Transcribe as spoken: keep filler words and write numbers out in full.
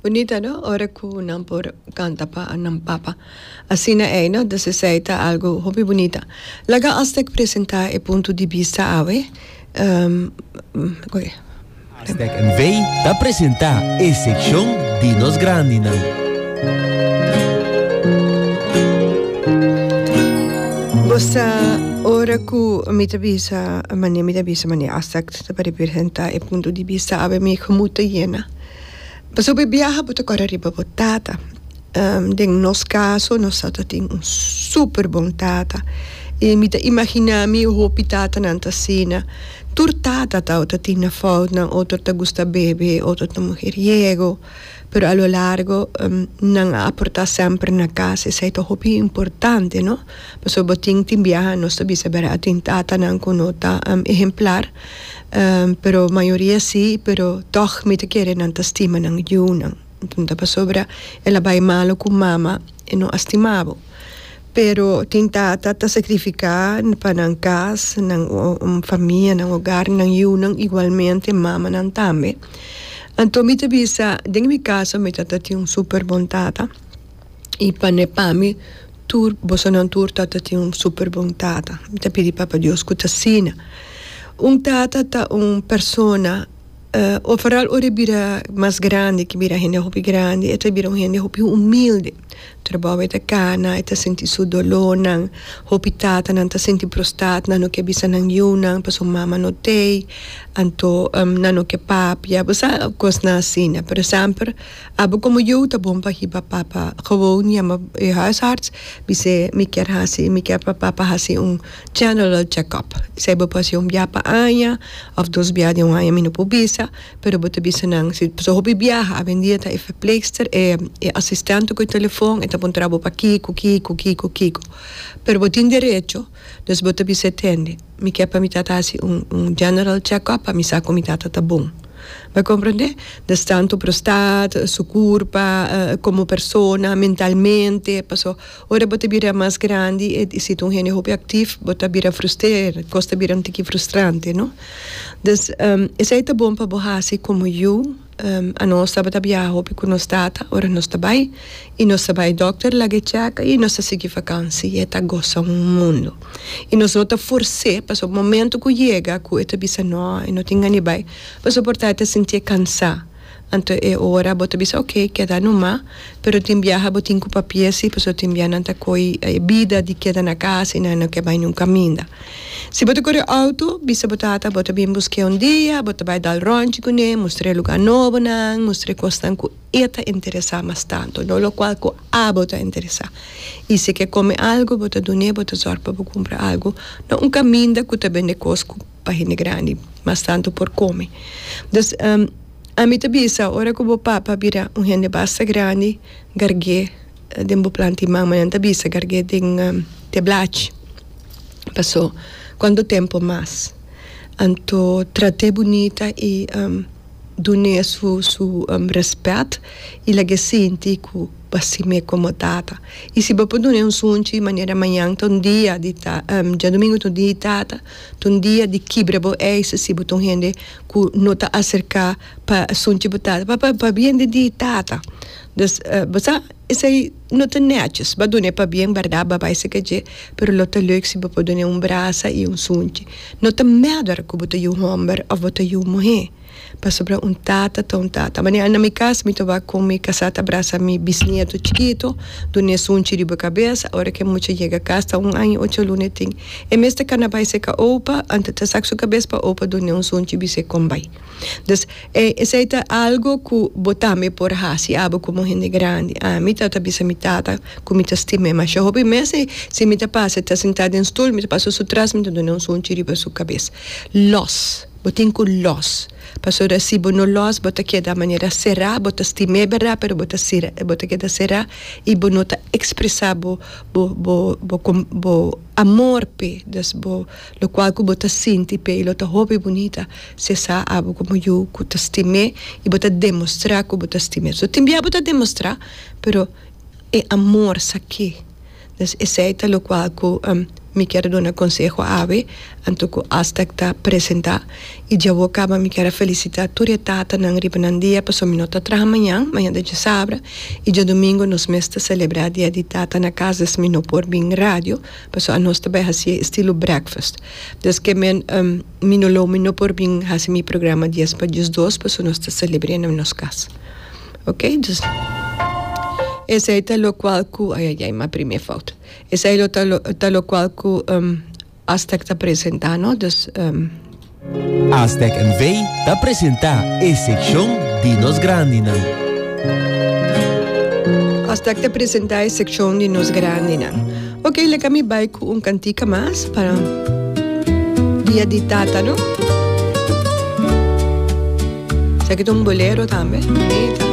Bunita, no? Ora ku nan por kanta pa nan papa. Asina ei, no? Dus esei ta algu hopi bunita. Laga Aztec presentá e punto di bista awe. Um, oké. Aztec N V ta presentá e sekshon di nos grandinan. Bo sa, ora ku mi ta bisa, mane mi ta bisa, mane Aztec ta representá e punto di bista awe, mi gemoed ta yena. Pasobra biaha bo ta kòrda riba bo tata. Um, den nos kaso, nos tata tin un super bon tata. I mi ta imaginá mi hopi tatanan ta asina. Tur tata ta tin nan foutnan, otro ta gusta bebe, otro ta mujeriego. Pero a lo largo um, nan a aportá semper na kas. Esei ta hopi importante, no? Pasobra bo tin tin biaha nos ta bisa bera tin tatanan ku no ta um, ehemplar. Um, pero mayoria sí, pero toch mi ta kere nan ta stima nan yunan. Anto pasobra el a bai malu ku mama e no a stima bo. Pero tin tata ta sakrifiká pa nan kas, nan um, famia, nan hogar, nan yunan igualmente, mamanan tambe. Anto mi ta bisa, den mi kaso mi tata tin un super bon tata. I pa ne pa mi tur bosonan tur tata tin un super bon tata. Mi ta pidi Papa Dios ku ta asina. Un tata ta un persona, uh, o vooral ora e bira mas grandi, ku bira hende hopi grandi, e ta bira un hende hopi humilde. Trabou e ta kana, e ta sinti su dolónan, hopi tatanan ta sinti prostaat, nan no ke bisa nan yunan, pasobra mama no t'ei, anto um, nan no ke papia, bo sa, kosnan asina. Pero semper, abo komo yu ta bon pa hiba papa gewoon yama e huisarts, bis'é mi kier hasi, mi kier pa papa hasi un general check-up. Esei bo por hasi un bia pa aña, òf dos bia den un aña, mi no por bisa, pero bo ta bisa nan, si so hopi biaha, awendia ta e verpleegster, e, e asistente ku e telefon, e ta puntra bo pa kiko, kiko, kiko, kiko. Pero bo tin derecho, dus bo ta bisa: "Tende, mi kier pa mi tata hasi un, un general check-up, pa mi sa ku mi tata ta bon." Bo a komprondé? Dus tantu prostaat, su kurpa, uh, komo persona, mentalmente, paso ora bo ta bira mas grandi i si un hende hopi aktivo, bo ta bira frustreer, kos ta bira un tiki frustrante, no? Dus um, esei ta bon pa bo hasi komo yu, um, anos tabata biaha hopi ku nos tata, ora nos ta bai, i nos ta bai dòkter lag'é check i nos ta sigui vakantie, e ta gosa un mundu. I nos no ta fors'é, paso momento ku yega, ku e ta bisa no, e no tin gana di bai, paso por ta e ta sintié kansá. Anto e ora bo ta bisa: "Ok, keda numa," pero tin biaha bo tin ku papia si, paso tin biaha nan ta koi e bida di keda na kas i nan no ke bai niun kaminda. Si bo ta kore outo, bisa bo tata bo ta bin busk'é un dia, bo ta bai dal ròntje kuné, mustr'é lugá nobonan, mustr'é kosnan ku e ta interesá mas tantu, no lokual ku abo ta interesá. I si ke kome algu, bo ta dun'é, bo ta zòrg pa bo kumpra algu na un kaminda ku ta bende kos ku pa hende grandi mas tantu por kome. Dus um, ami ta bisa, ora ku bo papa bira un hende basta grandi, garg'é den bo plant'i man, nan ta bisa garg'é den um, te blachi. Paso kuantu tempu mas? Anto trat'é bunita i um, dun'é su su um, rèspèt i lag'é sinti ku bo a stim'é komo tata. I si bo por dun'é un sunchi, manera mañan ta un dia di ta, um, djadumingu ta un dia di tata, ta un dia di kibra bo ijs si bo ta un hende ku no ta aserká pa sunchi bo tata, pa pa pabien di di tata. Dus uh, bo sa, esei no ta netjes. Bo a dun'é pabien, bèrdat, bo a bai serka dje, pero lo ta leuk si bo por dun'é un brasa i un sunchi. No ta matter ku bo ta yu hòmber òf bo ta yu muhé. Pasobra un tata ta un tata. Manera na mi kas, mi ta wak ku mi kasá ta brasa mi bisnieto chikitu, dun'é sunchi riba kabes, ora ku e mucha yega kas, ta un aña i ocho luna e tin. E mes ta kana bai serka opa, anto ta sak su kabes pa opa dun'é un sunchi, bis'é kon bai. Dus eh, esei ta algu ku bo tambe por hasi abo komo hende grandi. Ami ta ta bisa mi tata ku mi ta stim'é masha hopi mes i si mi ta pasa, e ta sintá den stul, mi ta pasa su tras, mi ta dun'é un sunchi riba su kabes. Lòs. Bo tin ku lòs. Pasobra si bo no lòs, bo ta keda manera será, bo ta stim'é bèrdat, pero bo ta sera, bo ta keda será i bo no ta ekspresá bo bo bo bo bo amor p'e. Dus bo lokual ku bo ta sinti p'e i lo ta hopi bunita si sa abo komo yu ku ta stim'é i bo ta demostrá ku bo ta stim'é. So tin bia bo ta demostrá, pero e amor sa ke. Dus esei ta lokual ku um, Mi kier duna conseho awe, anto cu Astec ta presenta. Y ya caba mi kier felicita tur e tatanan riba nan dia, paso mi no ta traha mañan, mañan ta diasabra, y diadomingo nos mes ta celebra dia di tata na cas, dus mi no por bin radio, paso anos ta bay haci estilo breakfast. Dus kemen um, mi no lo mi no por bin haci mi programa dies pa dos, paso nos ta celebra na nos cas. Ok? Dus esey ta locual cu, ai ai ai, mi prome fout. Esey ta lo ta locual cu um, Astec ta presentando, dus um, Astec N V ta presenta e seccion di Nos Grandinan. Astec ta presenta e seccion di Nos Grandinan. Ok, laga mi bay cu un cantica mas pa Dia di Tata, no? Esaki ta un bolero tambe. Bunita.